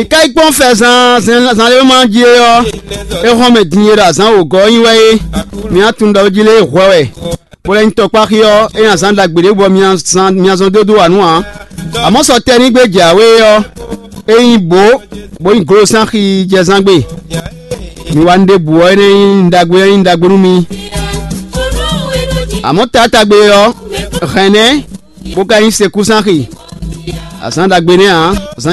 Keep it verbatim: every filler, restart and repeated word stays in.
Ìka yí kpɔ́n fɛ zan zan zan lé ma jí é ɔ́, é hɔn mɛ din e ɖo azǎn wǒgɔ́ ɔ́ nyi wɛ é. Mi á tunwun ɖɔ jí lé hwɛ wɛ, bó lɛ́ nyí tɔkpáxi ɔ́, é nyi azǎn ɖagbe ɖé bɔ mi zɔn dó dó wǎ nú ǎ. Amɔ̌ sɔ tɛnígbe jǎwe ɔ́, é nyí bǒ, bó nyí glosánxi jɛzán gbe. Mi wá nú ɖěbǔ ɔ́, énɛ́ nyí nǔ ɖagbe, é nyí nǔ ɖagbe nú mi. Amɔ̌ taátagbe ɔ́, hɛ̌nɛ́, bó ka nyí sekúsánxi. Azǎn ɖagbe nɛ́ ǎ. Azǎn